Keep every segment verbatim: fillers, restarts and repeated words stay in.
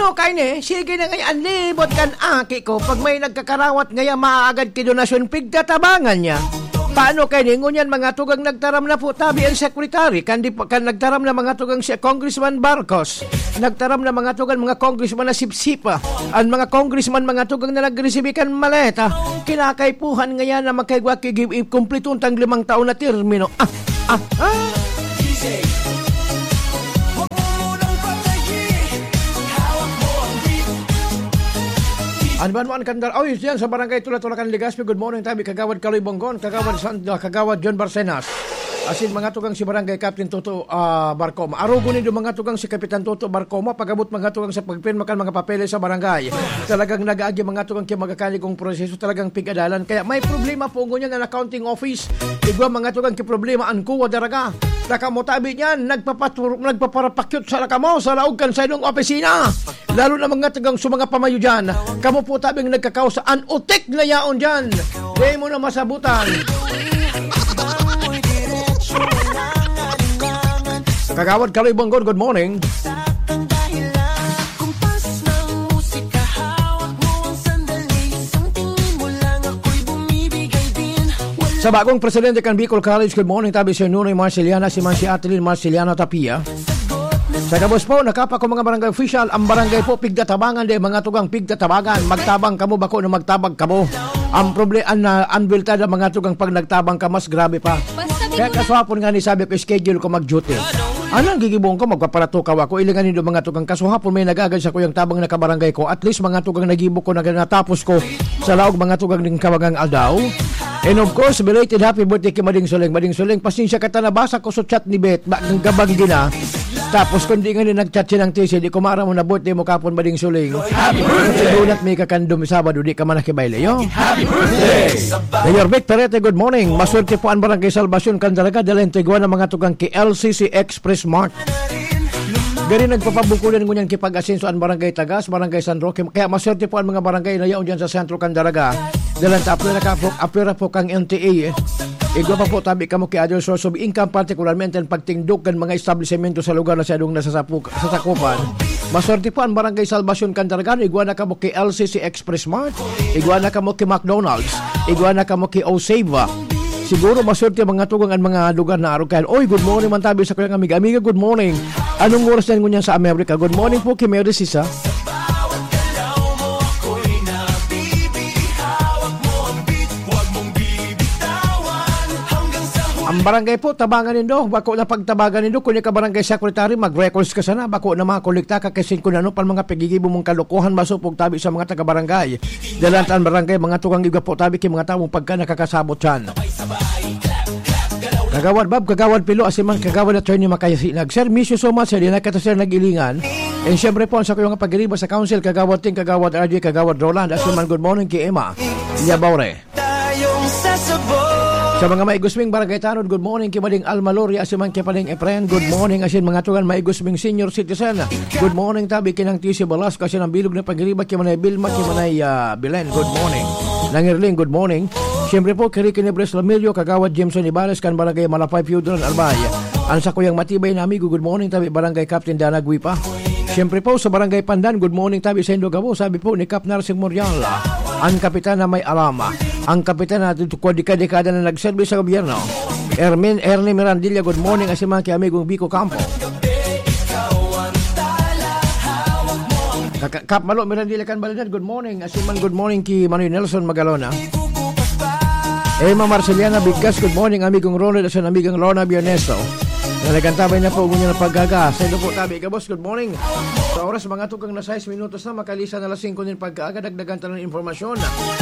Ano kaini? Sige na ngaya, an libot kan aki ko. Pag may nagkakarawat ngaya, maagad ki donasyon, pigtatabangan niya. Paano kaini? Ngunyan, mga tugang, nagtaram na po tabi ang secretary. Kan, di, pa- kan nagtaram na, mga tugang, si Congressman Barcos. Nagtaram na, mga tugang, mga congressman na sipsipa. Ang mga congressman, mga tugang, na nagresibi kan maleta. Kinakaipuhan ngaya na magkaigwa ki-, i-, kumplito tang limang taon na termino. Ah, ah, ah. An Banwan Kandar, oy, diyan sa Barangay Tula-Tula kan Legazpi, good morning tabi, Kagawad Kaloy Bonggon, Kagawad San-, ah, Kagawad John Barcenas. Asin mga tugang si Barangay Captain Toto, ah, Barcoma. Arugo nindo mga tugang si Kapitan Toto Barcoma, pag-abot mga tugang sa pagpirma kan mga papeles sa barangay. Talagang nag-aagi mga tugang ki magakaligong proseso, talagang pig-adalan. Kaya may problema po ngunyan an accounting office. Igwa mga tugang ki problema an kuwa daraga. Nakamo tabi niyan, nagpapatur-, nagpaparapakyot sa nakamo sa laog kan sainong opisina. Lalo na mga tagang sa mga pamayo dyan. Kamo po tabing nagkakausa, an utik na yaon dyan. Di mo na masabutan. Kagawad Kaloy Bonggon, good morning. Sa bagong presidente kan Bicol College, good morning, tabi si Nunoy Marceliana, si man si Atelin Marceliana Tapia. Sa gabos po, nakapa ko mga barangay official, ang barangay po, pigtatabangan di, mga tugang pigtatabangan. Magtabang kamo, bako na magtabang kamo. Ang problema, an, ah, ang bilta na mga tugang pag nagtabang ka, mas grabe pa. Basta Kaya bigla- kaswapon nga ni sabi ko, schedule ko mag-duty. Anong gigibong ko, magpaparatukaw ako, ilingan nindo mga tugang kasuhapon, may nagagad sa kuyang tabang na kabarangay ko. At least mga tugang nagibo ko na natapos ko sa laog mga tugang ning kabagang aldaw. And of course, belated happy birthday kay Mading Suling. Mading Suling, pasensya ka ta, nabasa ko sa chat ni Beth, ba, ang gabang gina. Tapos kung di nga ni nag-chat siya ng T C, di ko maaram na birthday mo kapon, Mading Suling. Happy birthday! Dunat may kakandom Sabado, di ka man nakibayle, yo. Happy birthday! Mayor Vic Perete, good morning. Maswerte po ang Barangay Salvacion, Candaraga, dala yung tiguan ng mga tugang ki L C C Express Mart. Gari nagpapabukulan ngunyan kipag-asenso ang Barangay Tagas, Barangay San Roque. Kaya maswerte po ang mga barangay na yaon dyan sa Sentro, Candaraga. Dalan ta apwera ka po, apwera po kang N T A. Igwa pa po tabi kamo ki other source of income, partikularmente ang pagtindog kan mga establisemento sa lugar na sadong nasasapuk-, sasakupan. Maswerte po ang Barangay Salvacion, Candaraga. Igwa na kamo ki L C C Express Mart. Igwa na kamo ki McDonald's. Igwa na kamo ki Oseva. Siguro maswerte mga tugang ang mga lugar na arog kayan. Oy, good morning man tabi sa kuyang amiga. Amiga, good morning. Anong oras yan ngunyan sa Amerika? Good morning po ki Mary Sisa. Ang barangay po, tabangan nindo. Bako na pagtabangan nindo. Kung ka barangay secretary, mag-records ka sana. Bako na makolekta ka kasi kung ano pa mga pagigibo mong kalokohan, masupog tabi sa mga taga-barangay. Dalantan barangay, mga tukang igwa po tabi ki mga tawong pagka nakakasabot siyan. Kagawad Bab, Kagawad Pilo, asiman Kagawad Attorney Makayasinag. Sir, miss you so much, sir. Di na kita, sir, nag-ilingan. And syempre po, ang sa kuyong pagiriba sa council, Kagawad Ting, Kagawad R J, Kagawad Roland, asiman good morning ki Emma Yabaure. Sa mga maigusming barangay tanod, good morning ki Mading Alma Loria, asiman ki Pading Efren, good morning, asin mga tugan maigusming senior citizen. Good morning tabi kinang T C Velasco, asin ang bilog na pagiriba ki Manay Vilma, ki Manay, ah, Belen, good morning. Nangirling, good morning. Siyempre po, kiri Kinebres Lamilio, Kagawad Jameson Ibares, kan Barangay Malapay, Piudron, Albay. Ang sa kuyang matibay na amigo, good morning tabi Barangay Captain Dana Guipa. Siyempre po, sa Barangay Pandan, good morning tabi sa Indo Gabo, sabi po ni Kap Narsing Morial, ang kapitan na may alama, ang kapitan na tutukod dekada-dekada na nagserbi sa gobyerno. Ermin, Ernie Mirandilla, good morning, asin man ki amigong Biko Campo. Kaka-, Kap Malo Mirandilla kan Balinan, good morning, asin man good morning ki Manoy Nelson Magalona. Emma Marceliana Bigkas, good morning, amigong Ronald, asin amigang Lorna Biernesto. Nalagantabay na po, ngunyan ang paggaga. Sa inyo po, tabi, Gabos, good morning. Sa oras, mga tukang na sais minutos na, makalisa na alas singko nin pagkaaga, dagdagan tayo ng impormasyon.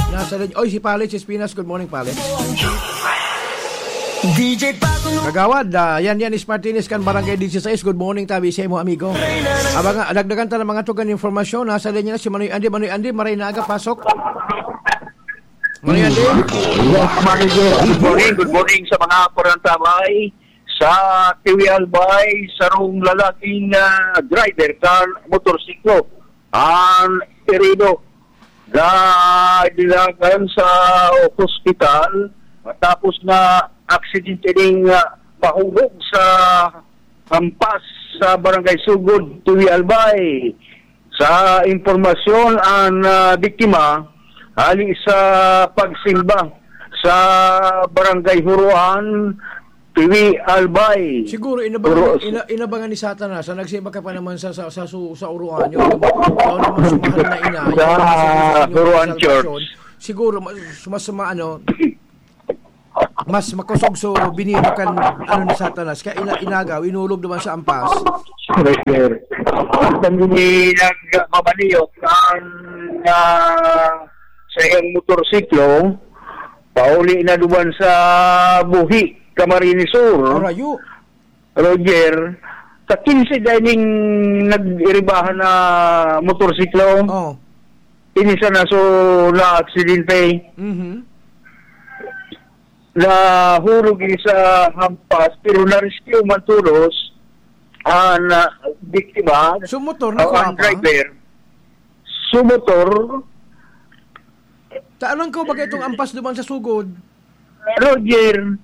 Nasa linya, oy, si Pali Chispinas, good morning, Pali. D J Paco. Kagawad, ah, yan, yan, is Martinez kan Barangay dieciséis. Good morning, tabi sa imo, amigo. Abang, ah, dagdagan tayo ng mga tugan impormasyon. Nasa linya na si Manoy Andy. Manoy Andy, maray na aga, pasok. Manoy Andy. Good morning, good morning sa mga parantabay sa Tiwi Albay, sarong lalaking, ah, driver sa motorsiklo. Ang herido, ga-, dinalagan sa ospital matapos na aksidente ning, ah, mahulog sa hampas sa Barangay Sugod, Tiwi Albay. Sa impormasyon, ang, ah, biktima hali sa pagsimba sa Barangay Huruan, Tiwi, Albay. Siguro, inabangan, Huru- ina-, inabangan ni Satanas na nagsimba ka pa naman sa, sa, sa, su-, sa Huruan, yung, yung, yung mas mahal na ina, yung Sa nasa Huruan salvasyon. Church. Siguro, mas, mas ma-, ano, mas makosog so binino kan, ano, ni Satanas. Kaya ina-, inagaw, inulog naman sa ampas. Correct, sir. Ang nagmamaniyok ang, ah, sa iyang motorsiklo, pauli na duman sa Buhi, Camarines Sur. Arayo. Roger, sa quince dining nag-iribahan na motorsiklo. Oh. Ini sana so na aksidente. Mhm. Nahulog ini sa hampas, pero na-rescue man tolos ang, ah, biktima. So, motor, o, ang nakuha pa? Driver. So, motor. Ta-, anong ko ba itong ampas duman sa sugod? Roger,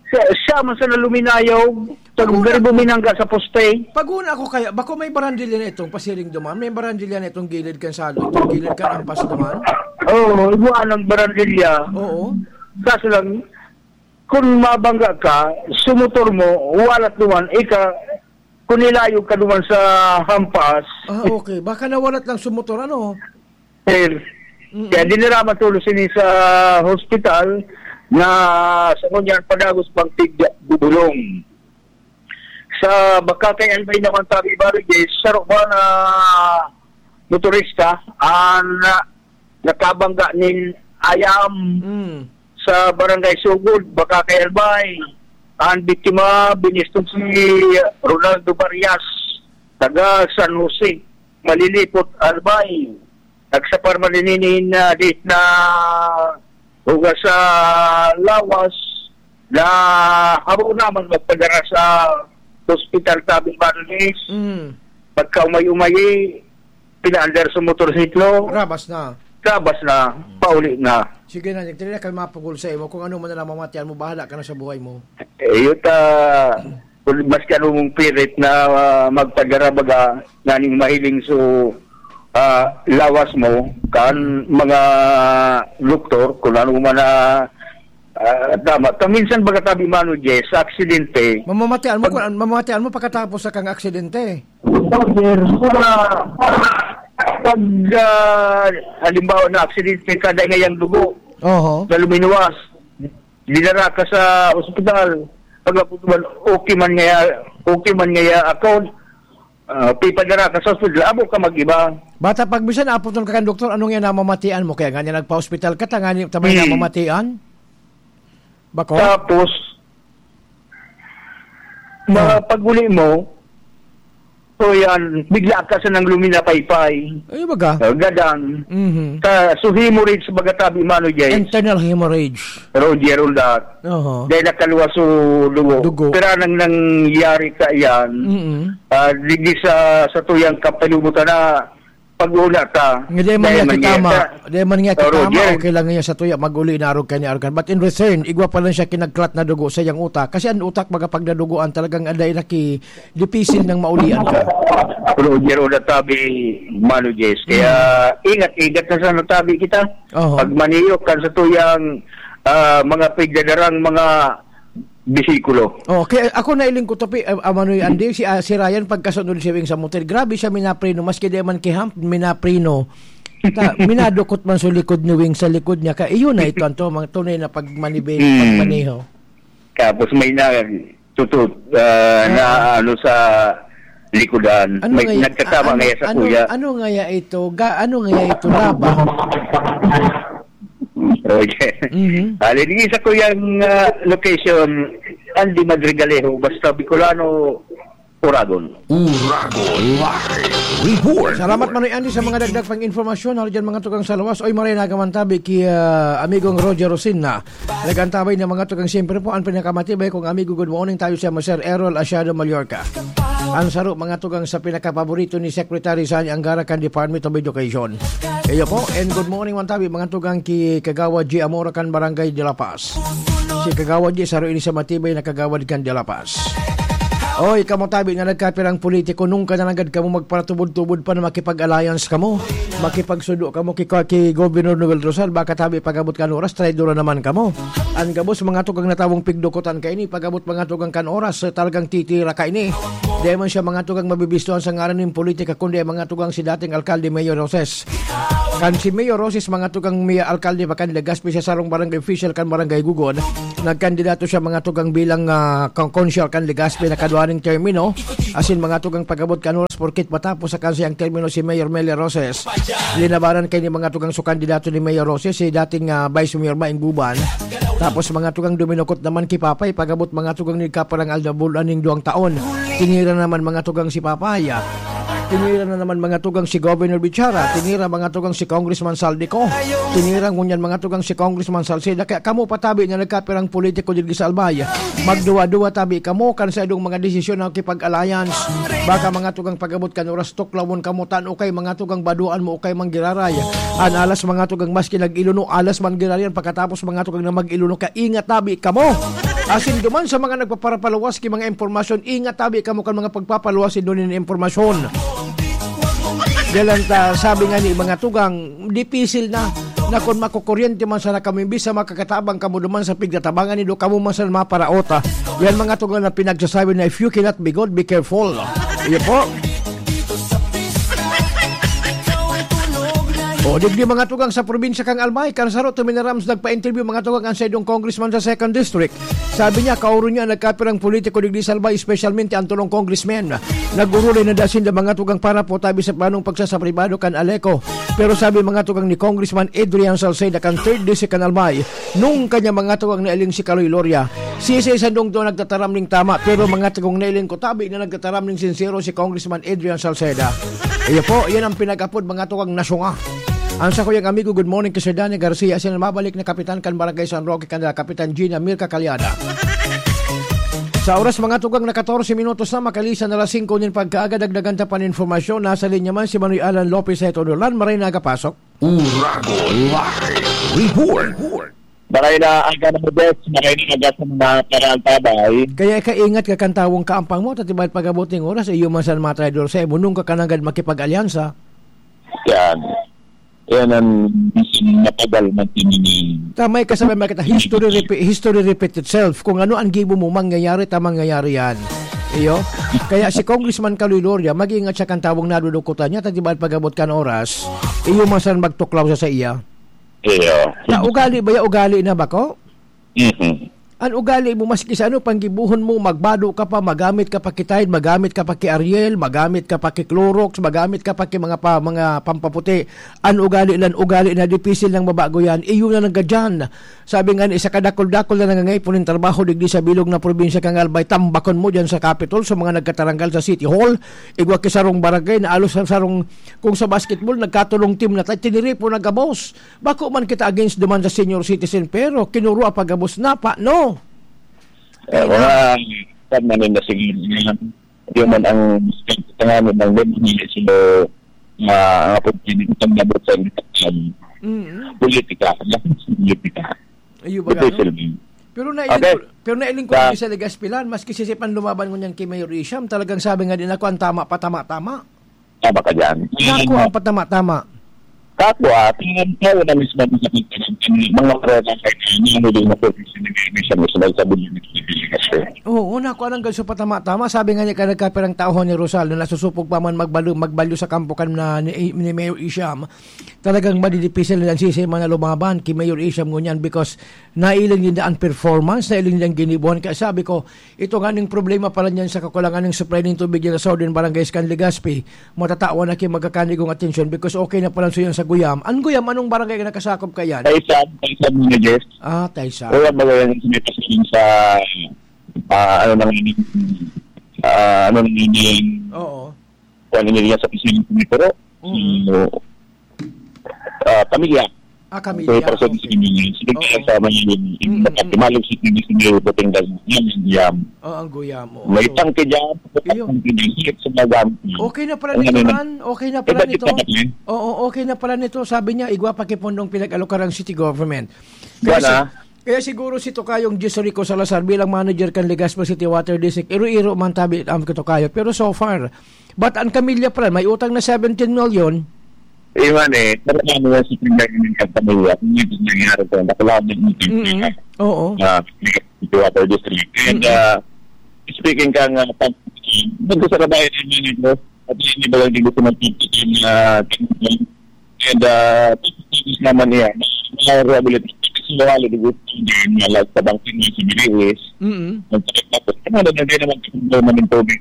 siya, siya man sana luminayog. Pag Pag-una garibo minangga sa poste. Pag-una ako kaya, bako may barandilya na itong pasiring duman? May barandilya na itong gilid kan salo, itong gilid kan ampas duman? Oo, igwa ng barandilya. Oo. Kaso lang, kung mabangga ka, sumutor mo, walat duman, ika, kung nilayog ka duman sa hampas. Ah, okay. Baka nawalat lang sumutor, ano? Sir, Mm-mm. kaya dinara man tolos ini sa hospital na sa ngunyan padagos pang tig bubulong. Sa Bacacay, Albay naman, tabi, Barangay, saro ba na motorista ang, ah, nakabangga nin ayam Mm. sa Barangay Sugod, Bacacay, Albay. Ang biktima, biniston si Ronaldo Barias, taga San Jose, Malilipot, Albay. Nagsapar man ini nin, ah, date na hugas sa lawas na habo naman magpadara sa hospital, tabi, Barangay. Mm. Pagkaumay-umay, pinaandar sa motorsiklo. Rabas na. Rabas na, Mm. pauli na. Sige na, nagtira ka mapugol sa imo. Kung ano man na namamatian mo, bahala ka na sa buhay mo. Eh, yun ta, kung maski ano mong pirit na, ah, magpadara baga, naning mahiling so, ah, lawas mo, kan mga doktor, kung ano man na, ah, tama. Kaminsan baga tabi mano, Jess, sa aksidente. Mamamatian mo, Pag- kung, mamamatian mo pagkatapos sa kang aksidente. Sir, sa pag, ah, halimbawa na aksidente, kada ngayang dugo, Oho. na luminuwas, dinara ka sa ospital. Pag okay man ngaya, okay man ngaya ako, ah, pipadara ka sa ospital, abo ka mag-iba. Bata, pag bisan aputon ka kan doktor, ano nga namamatian mo? Kaya nga niya nagpa-ospital ka, ta nga niya, ta may Hmm. namamatian? Bako? Tapos, ma-, Ah. pag-uli mo, so yan, bigla ka sa nang luminapaypay. Ay, baga? Ah, gadan. Mhm. Sa, so hemorrhage, baga tabi mano, Jess. Internal hemorrhage. Roger, all that. Oho. Dahil nakaluwas so dugo. Dugo. Pero nang nangyari ka yan, Mm-mm. ah, digdi sa, sa tuyang kapalubutan na pag-una ta. Nga di man Dahil niya man kitama. niya sa Di man niya Oh, kitama, Roger. okay lang niya sa tuya, mag-uli na arog kay ni arog kan. But in return, igwa pa lang siya kinagklat na dugo sa iyang utak. Kasi ang utak, baga pag nadugoan, talagang aday na ki-, dipisil nang maulian ka. Roger, o natabi, Mano Jess. Kaya Mm. ingat-ingat na sa natabi kita. Oho. Pag maniyok kan sa tuyang, ah, mga pigdadarang mga bisikulo. Oh, kaya ako nailing ko to, pi-, ah, ah, Manoy Andy, si, ah, si Ryan, pagkasunod si Wing sa motor, grabe siya minapreno, maski di man kiham, minapreno. Ta-, minadukot man sa likod ni Wing, sa likod niya. Ka, iyon na ito, ang to-, mga tunay na pagmanibe-, Hmm. pagmaneho. Tapos may na, tutut, ah, Ah. na ano sa likodan. Ano May ngaya, nagkasama ah, ano, ngaya sa ano, kuya. ano ngaya ito? Ga-, ano ngaya ito? Laba? Okay. Mhm. Ali, di sa kuyang, ah, location, Andy Madrigalejo, basta Bicolano, Uragon. Uragon Live Report. Salamat, Manoy Andy, sa mga dagdag pang informasyon. Hali dyan, mga tugang sa lawas. Oy, maray na gaman tabi ki, ah, amigong Roger Rosina. Nag-antabay na, mga tugang, siyempre po, ang pinakamatibay kong amigo. Good morning tayo sa Sir Errol Asiado, Mallorca. Ang saro, mga tugang, sa pinakapaborito ni Secretary Sani Angara kan Department of Education. Iyo po, and good morning man tabi, mga tugang, ki Kagawad G Amora kan Barangay de la Paz. Si Kagawad G, saro ini sa matibay na kagawad kan de la Paz. Oy, kamo tabi na nagkapirang politiko, nung ka na nanggad kamo magparatubod-tubod pa na makipag-alliance kamo, makipagsudo kamo ki, ki Governor Noel Rosal, baka tabi pag-abot kan oras, traidor na naman kamo. An gabos, mga tugang natawong pigdukutan kaini, pag-abot mga tugang kan oras, eh, talagang titira kaini. Di man siya mga tugang mabibistuhan sa ngaran nin politika, kundi mga tugang si dating alkalde Mayor Roses. Kan si Mayor Roses, mga tugang mi-, alkalde pa kan Legazpi, siya sarong barangay official kan Barangay Gugod. Nagkandidato siya, mga tugang, bilang, ah, kon-, konsyal kan Legazpi na kadwaning termino. Asin mga tugang pag-abot kan oras, porkit matapos sa kansiyang termino si Mayor Meli Roses. Linabanan kaini mga tugang su kandidato ni Mayor Roses, si dating, ah, Vice Mayor Maing Guban. Tapos mga tugang duminukot naman ki Papay, pag-abot mga tugang ni kaparang aldabulan ning duwang taon. Tinira naman mga tugang si Papay, ah. Tinira na naman mga tugang si Governor Bichara, tinira mga tugang si Congressman Saldico, tinira ngunyan mga tugang si Congressman Salceda. Kaya kamo patabi na nagkapirang politiko digdi sa Albay, magduwa-duwa tabi kamo kan sa idong mga desisyon na kipag-alliance. Baka mga tugang pag-abot kan oras, tuklawon kamo, tan o kay mga tugang baduan mo o kay manggiraray. An alas mga tugang maski nag-ilono, alas man giraray yan, pagkatapos mga tugang na mag-ilono, kaya ingat tabi kamo. Asin duman sa mga nagpaparapaluwas ki mga impormasyon, ingat tabi kamo kan mga pagpapaluwas indo nin impormasyon. Dalan ta, sabi nga ni mga tugang, dipisil na, na kun makukuryente man sana kamo, imbis na makakatabang kamo duman sa pigtatabangan nindo, kamo man sana maparaot, ah. Yan mga tugang na pinagsasabi na, "If you cannot be good, be careful." Iyo po. O, digdi mga tugang sa probinsya kan Albay, kan Saro, Tuminaram, nagpa-interview mga tugang an saindong congressman sa second district. Sabi niya, kaoro niya nagkapirang politiko digdi sa Albay, espesyalmente an tolong congressmen. Nag-urulay na da sinda mga tugang para po tabi sa planong pagsasapribado kan Aleco. Pero sabi mga tugang ni Congressman Adrian Salceda kan third District kan Albay, nung kanya mga tugang nailing si Kaloy Loria, sisay sandong doon nagtataram ning tama, pero mga tugang nailing ko tabi na nagtataram ning sinsero si Congressman Adrian Salceda. Iyo po, yan ang pinag-apod mga tugang nasyonga. Ang sa kuyang amigo, good morning kay Sir Danny Garcia, sinamabalik na kapitan kan Barangay San Roque, kanila Kapitan Gina Mirka Calyada. Sa oras mga tugang na katorse minutos na, makalisan na alas singko nin pagkaaga, dagdagan ta pan informasyon. Nasa linya man si Manoy Alan Lopez sa Ito Dolan. Maray na aga pasok. Uragon Live Report. Maray na aga na, Des. Maray na aga sa mga karaan tabay. Kaya ikaingat ka kan tawong kaampang mo, tatibay pag-abot ning oras, iyo man san mga traidor sa imo, nung ka kananggad makipag-alyansa. Yan. Yan ang bisan matagal na tinini. Tama yung kasabay, makita, history repeat, history repeat itself. Kung ano ang gibo mo, mangyayari, ta mangyayari yan. Iyo. Kaya si Congressman Kaloy Loria, mag-iingat siya kan tawong nadudukutan niya, ta di ba pag-abot kan oras, iyo man san magtuklaw sa sa iya. Iyo. Ta ugali ba ya? Ugali na ba ko? Mhm. An ugali mo, maski sa ano pang gibohon mo, magbado ka pa, magamit ka pa ki Tide, magamit ka pa ki Ariel, magamit ka pa ki Clorox, magamit ka pa ki mga pa, mga pampaputi. An ugali lan ugali na, dipisil nang mabago yan. Iyo na naggadyan. Sabi nga ni isa kadakol-dakol na nangangaipon nin trabaho digdi sa bilog na probinsya kan Albay, tambakon mo dyan sa Capitol, sa mga nagkataranggal sa City Hall, igwa ki sarong barangay na alos sa sarong, kung sa basketball, nagkatulong team na tayo, tiniripo na gabos. Bako man kita against duman sa senior citizen, pero kinurwa pa gabos na pa, no? Eh, Kaya mga, kan man na sige, yan. Yung man ang tanganin ng Lord, hindi sila ma-, ang apod, hindi ko tanggabot sa, um, Mm. politika. Politika. Ayun ba, Ito yung no? Silvin. Pero nailing Okay. ko, pero nailing ko Sa rin sa Legazpi lan, maski sisipan lumaban ngunyan kay Mayor Isham, talagang sabi nga din ako, ang tama pa, tama-tama. Tama ka dyan. Nako, Ano? ang patama-tama. Kako, ah, tingin ko na mismo sa mga kareta kay Nino, hindi na po si Nino, siya mismo sa Bulyo ni Pilipinas, eh. Oo, nako, anong ganso patama-tama. Sabi nga niya, ka nagkapirang tao ni Rosal na nasusupog pa man magbalyo, magbalyo sa kampo kan na ni, ni Mayor Isham. Talagang madidipisil na ang sisi man na lumaban ki Mayor Isham ngunyan because nailing din ang performance, nailing din ang ginibuhan. Kaya sabi ko, ito nga ning problema pala niyan sa kakulangan ng supply ng tubig dyan sa Southern Barangays kan Legazpi. Matatawan na ki magkakanigong atensyon because okay na pala so yan sa Guyam. Ang Guyam, anong barangay na nakasakop ka yan? Taysan, Taysan muna, Jess. Ah, Taysan. Kaya ba yan, may pasilin sa, ah, ano nang, ah, ano nang, Oo. Kung ano niya sa pisilin sa Mitro. Mm. So, ah, pamilya. Ah, pamilya. So, para sa Okay. pisilin niya. Sige, Oo. kaya sa mga yun, Mm, mm. Malos si T V sa may Batangas. Yan, yan. Oh, ang Guyam, oo. May So, tangke dyan, iyo. tangke dyan, higit sa mga gamit niya. Okay na pala Ang nito, ano na, man. Okay na pala iba nito. kita na yun. Oo, okay na pala nito. Sabi niya, igwa pa kay Pondong pinag-alokar ang city government. Kaya Wala. si-, Kaya siguro si Tokayong Jis Rico Salazar bilang manager kan Legazpi City Water District, iro-iro man tabi ang Tokayo. Pero so far, but ang kamilya pa rin, may utang na seventeen million. Iwan eh, pero ano yan sa problema ng pamilya? Kung hindi nangyari ko, nakalaman ng Mm-mm. Oo. uh, Water District. And Mm-mm. uh, speaking ka nga, pag nagkasarabay na yun ito, at hindi ba lang gusto magpipigil na and uh, tapos naman niya, na rehabilitation kasi wala din gusto niya na lang sa bangkin niya sa Biriwis. Mm-mm. Ang sakit na po. Ano na, hindi naman kasi naman yung tubig.